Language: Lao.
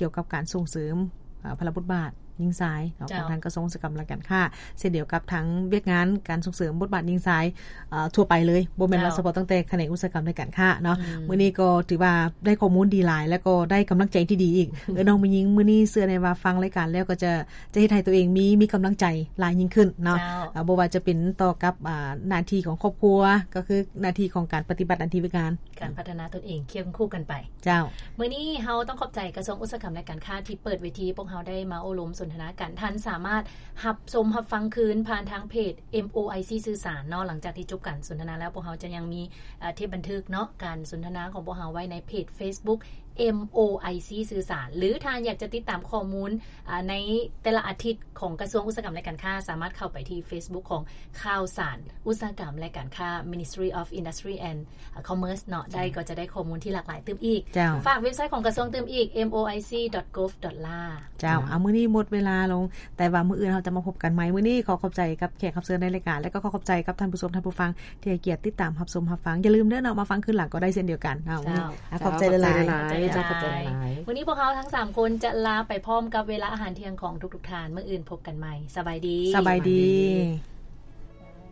ກ່ຽວກັບການສົ່ງເສີມ ເອີ ພາລະບົດບາດຍິງຊາຍເນາະ ເຈົ້າ ຂອງທາງກະຊວງອຸດສາຫະກຳ ແລະ ການຄ້າ ເຊັ່ນດຽວກັບທາງວຽກງານການສົ່ງເສริມບົດບາດຍິງຊາຍ ເອີ ທົ່ວໄປເລີຍ ບໍ່ແມ່ນວ່າ ເຈົ້າ ສະເພາະຕັ້ງແຕ່ຂະແໜງອຸດສາຫະກຳ ແລະ ການຄ້າເນາະ. ອືມ ມື້ນີ້ກໍຖືວ່າໄດ້ຂໍ້ມູນດີຫຼາຍ ແລະ ກໍໄດ້ກຳລັງໃຈທີ່ດີອີກ. ເອີ ນ້ອງແມ່ຍິງ ມື້ນີ້ເຊື່ອແນ່ວ່າຟັງລາຍການແລ້ວກໍຈະ ຈະເຮັດໃຫ້ຕົວເອງມີ ມີກຳລັງໃຈຫຼາຍຍິ່ງຂຶ້ນເນາະ. ເຈົ້າ ເອີ ບໍ່ວ່າຈະເປັນຕໍ່ກັບ ອາ ໜ້າທີ່ຂອງຄອບຄົວ ກໍຄືໜ້າທີ່ຂອງການປະຕິບັດໜ້າທີ່ວຽກງານ ການພັດທະນາຕົນເອງຄຽງຄູ່ກັນໄປ. ເຈົ້າ ມື້ນີ້ເຮົາຕ້ອງຂອບໃຈກະຊວງອຸດສາຫະກຳ ແລະ ການຄ້າ ທີ່ເປີດເວທີພວກເຮົາໄດ້ມາໂອ້ລົມສົນທະນາກັນ. ທ່ານສາມາດຮັບຊົມຮັບຟັງຄືນຜ່ານທາງເພຈ ເອັມ ໂອ ໄອ ຊີ ສື່ສານເນາະ. ຫຼັງຈາກທີ່ຈົບການສົນທະນາແລ້ວ ພວກເຮົາຈະຍັງມີ ເອີ ເທບບັນທຶກເນາະ ການສົນທະນາຂອງພວກເຮົາໄວ້ໃນເພຈ Facebook ເອັມ ໂອ ໄອ ຊີ ສື່ສານ ຫຼື ທ່ານຢາກຈະຕິດຕາມຂໍ້ມູນ ອາ ໃນແຕ່ລະອາທິດຂອງກະຊວງອຸດສາຫະກຳ ແລະ ການຄ້າ ສາມາດເຂົ້າໄປທີ່ Facebook ຂອງຂ່າວສານອຸດສາຫະກຳ ແລະ ການຄ້າ Ministry of Industry and Commerce ເນາະ ໄດ້ ເຈົ້າ ກໍຈະໄດ້ຂໍ້ມູນທີ່ຫຼາກຫຼາຍຕື່ມອີກ. ເຈົ້າ ຝາກເວັບໄຊຂອງກະຊວງຕື່ມອີກ ເອັມ ໂອ ໄອ ຊີ ດອດ ໂກບ ດອດ ລາ. ເຈົ້າ ເຈົ້າ ເອົາ ມື້ນີ້ໝົດເວລາລົງ ແຕ່ວ່າມື້ອື່ນເຮົາຈະມາພົບກັນໃໝ່. ມື້ນີ້ຂໍຂອບໃຈກັບແຂກຮັບເຊີນໃນລາຍການ ແລະ ກໍຂໍຂອບໃຈກັບທ່ານຜູ້ຊົມທ່ານຜູ້ຟັງ ທີ່ໃຫ້ກຽດຕິດຕາມຮັບຊົມຮັບຟັງ. ຢ່າລືມເດີເນາະ ມາຟັງຄືນຫຼັງກໍໄດ້ເຊັ່ນດຽວກັນເນາະ. ເຈົ້າ ຂອບໃຈຫຼາຍໆ. ເຈົ້າ ຂອບໃຈຫຼາຍໆ. ມື້ນີ້ພວກເຮົາທັງສາມຄົນຈະລາໄປພ້ອມກັບເວລາອາຫານທ່ຽງຂອງທຸກໆທ່ານ. ມື້ອື່ນພົບກັນໃໝ່. ສະບາຍດີ. ສະບາຍດີ.